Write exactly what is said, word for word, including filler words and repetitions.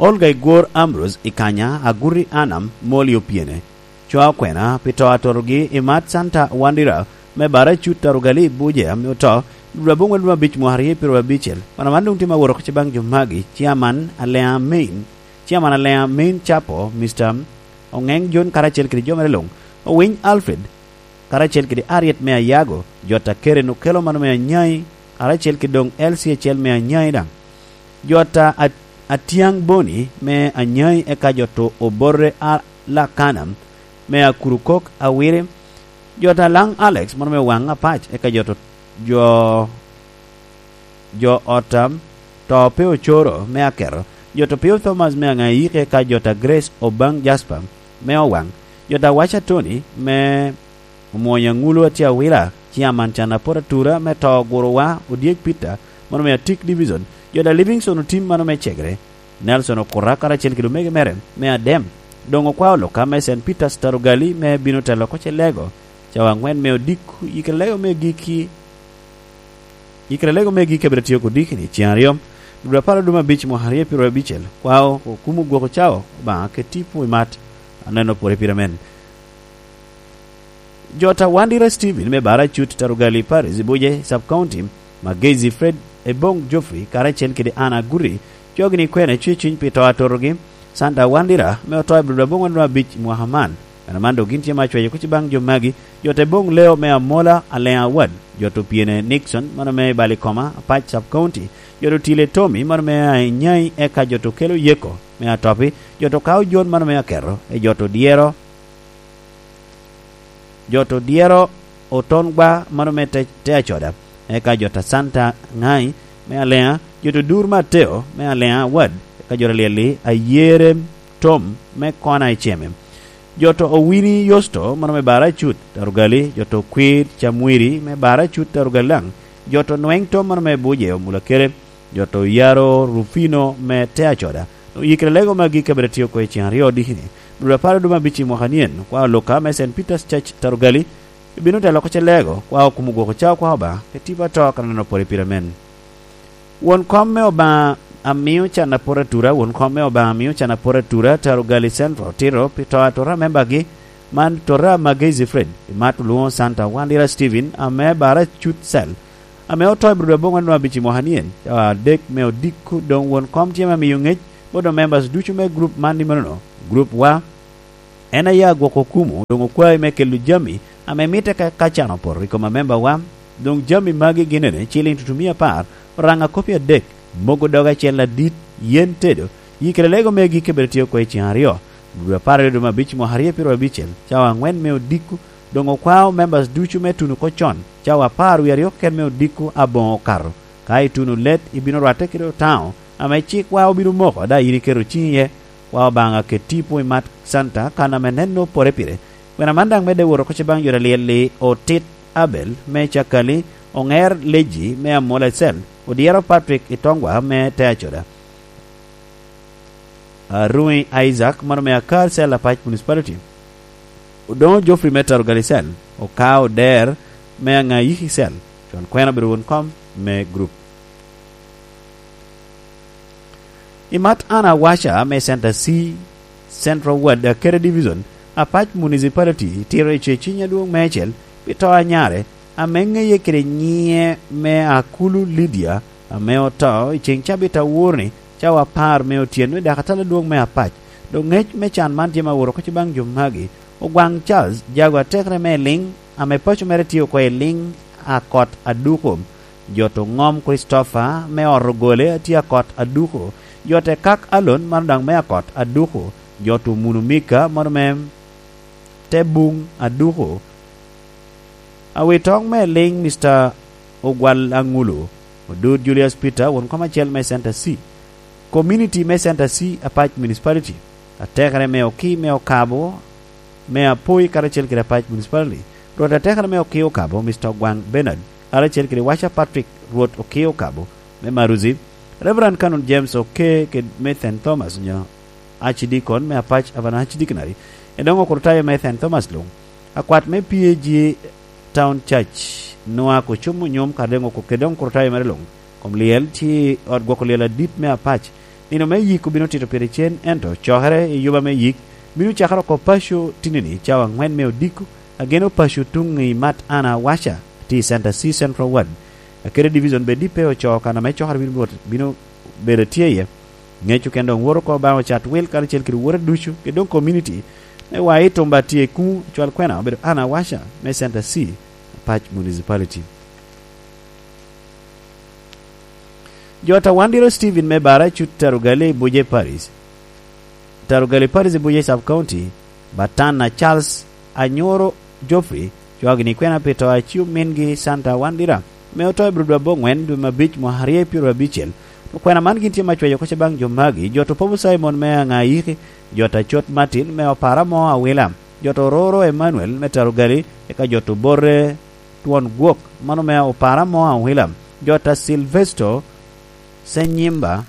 Olga Igwor Ambrose i Kanya, Aguri Anam, Moli Opiene, cwa okwena pi to atotogi i Mat Santa Wandira me Baracut Tarugali Buje ame oto, dwe aboŋwen dwe abic mwaka aryo pyeraryo abicel. Wan aman doŋ tye ma woro kuc baŋ jo magi, Chairman Alea Main, Chairman Alea Main Chapo, Mister Oŋeŋ John karacel kede jo mere luŋ, Owiny Alfred, karacel kede Ariet me Ayago, jot a Keren Okelo mano me Anyai, karacel kede doŋ L C acel me Anyai daŋ. Jot a, a, Atiaŋ Boni me Anyai, eka jot o-, Oborre a Lakana me Akurukok Awiri, jot a Laŋ Alex mano me Waŋ Apac, eka jot o-, jo, jo ot a To pe Ocoro me Aketo, jot a Pio Thomas me Aŋayiki, eka jot a Grace Obaŋ Jasper me Owaŋ, jot a Waca Tony me Omwony Aŋulu Atiawila, Chairman Can Apot Atura me To Guruwa Odyek Peter, mano me Atik Division, jot a Livingstone Otim mano me Cegre, Nelson Okuta karacel kede omege mere me Adem. Doŋ okwao Luka me Saint Peter's Tarugali me bino telo oko Celego, cawa aŋwen me odiko, yikere lego me giki, yikere lego me giki abiro tio kodiki ni ceŋ aryo, dwe apar aduma abic mwaka aryo pyeraryo abicel, kwao okumo gwoko cao, Obaŋa keti pwo i mat, aneno pwore pire men. Jot a Wandira Steven me Baracut Tarugali Paris Buje Sub County, Magezi Fred Ebong Geoffrey karacel kede Anna Guri, cogni kwene cwe cuny pi to atotogi, Santa Wandira me oto i Abril aboŋwen nwa abic i mwaka man. Meno man dok gin tye ma cweyo kuc baŋ jo magi, jot Ebong Leo me Amola Aleŋ Awad, jot Opiene Nixon mano me Balikoma, Apac Sub County, jot Otile Tommy mano me Anyai, eka jot Okelo Yeko me Atopi, jot Okao Jon mano me Aketo, e jot Odyero Jo to dyero oton gwa mano me te, te acoda, eka jo ta Santa Ŋai me Aleŋa, jo to dur Mateo me Aleŋa Awad, eka jo to lyelli Ayere Tom me Kona i Ceme, jo to Owini Yosto mano me Bara Cut Tarugali, jo to Kwir Camwiri me Bara Cut Tarugali daŋ, jo to Nweŋ Tom mano me Buje Omulakere, jo to Yaro Rufino me te acoda. Doŋ yikere lego magi kabedo tye oko i ceŋ aryo odikini, dwe apar oduma abic i mwaka nyen, kwa Luka me Saint Peter's Church Tarugali, ibino telo oko ce lego, kwa okumo gwoko cawa kwa Obaŋa, pe tipo ato ka neno pore pire men. Won kom me Obaŋa amio can apot atura, won kom me Obaŋa amio can apot atura, Tarugali Central, tito pi to atura membagi, man tota Magezi Fred, i mat olwoŋo Santa Wandira Steven, ame bara Cut Cell, ame oto i Abril aboŋwen nwa abic i mwaka nyen, cawa adek me odiko, doŋ won kom tye me miyo ŋec bot members ducu me group man ni menono, group wa, en aye agwoko okumo, doŋ okwae me kelo jami ame mitte ka, ka can opoto i kom amemba wa, doŋ jami magi gin ene, ciliŋ tutumia apar, oraŋ akopi adek, mogo doge acel adit, yen tedo, yikere lego megi kabedo tye oko i ceŋ aryo, dwe apar aryo dwe me abic mwaka aryo pyeraryo abicel, cawa aŋwen me odiko, doŋ okwao members ducu me tuno oko con, cawa apar wie aryo keken me odiko aboŋo okato. Ka ituno let, ibino rwatte kede otaŋo, ame cikwa obino moko, daŋ yin iketo ciŋi iye. Kwa Obaŋa ket tipo i mat Santa kan ame neno pore pire. Kwena man daŋ medde wot oko ce baŋ jo alyel-li, Otit Abel me Cakali, Oŋer Leji me Amola Cell, Odyero Patrick i Tongwa me te acoda. Aruŋi Isaac, mano me Akar Cell Apac Municipality. Odoŋo Geoffrey me Tarugali Cell, Okao Der me Aŋayiki Cell, con kwena obedo won kom me group. I mat an awaca me Center C, Central Ward, Akere Division, Apac Municipality, tito i ce ciny adwoŋ meicel, pi to anyare, ame ŋeye kede nyiŋe me Akulu Lydia, ame oto i ceŋ cabit awor-ni, cawa apar me otyeno i dakatala adwoŋ me Apac. Doŋ ŋec me can man tye ma woro oko ce baŋ jo magi, Ogwaŋ Charles Jago atekere me Eliŋ, ame paco mere tye oko i Eliŋ Akot Aduko, jo to Ŋom Christopher me ot Ogole a tye Akot Aduko, jo te Kak Alon mano daŋ me Akot Aduko, jo to Munu Mika mano me te Buŋ Aduko, Awitoŋ me Eliŋ Mister Ogwal Aŋulu, Odud Julius Peter, won kom acel me Center C, Community me Center C, Apac Municipality, atekere me Oki me Okabo, me Apoi karacel kede Apac Municipality, rwot atekere me Oki Okabo, Mister Ogwaŋ Bernard, karacel kede Waca Patrick, rwot Oki Okabo, me Maruzi, Reverend Canon James Oke kede me Saint Thomas, onyo Archdeacon me Apac Aban Archdeaconry, edoŋo Okurutayo me Saint Thomas luŋ, akwat me P A G Town Church, Nwak Ocum Onyum, kadi doŋ oko-, kede doŋ Okurutayo mere luŋ, kom lyel tye i ot gwoko lyel adit me Apac, Nino me yik obino tito pire cen, ento cokere i yuba me yik bino cakere oko paco tinini cawa angwen me odiko. Ageno paco tuŋ i Mat Ana Waca, tye i Center C Central Ward. Akede division bed dipe ocoo kan ame cokere bino bot-, bino bedo tye iye. Ŋeco ken doŋ woto oko baŋ ocat wil karacel kede wote ducu, kede doŋ community me wa i tumba tye i kuŋ. Cwal kwena obedo Ana Waca me Center C, Apac Municipality. Jo a Tawandiro Steven me Bara cut Tarugali i Buje Parish. Tarugali Parish i Buje Sub County, Batana Charles Anyoro Geoffrey, cwagi ni kwena pi to a ci omingi Santa Wandira, me oto i Brudwa Bongwen dwe me abic mwaka aryo pyero abicel. To kwena man gin tye ma cweyo koca baŋ jo magi, jo to Popo Simon me Aŋayiki, jo ta Cot Martin me Opara mo Awila, jo to Roro Emmanuel me Tarugali, eka jo to Borre Twon Gwok, mano me Opara mo Awila, jo ta Silvesto Senyimba,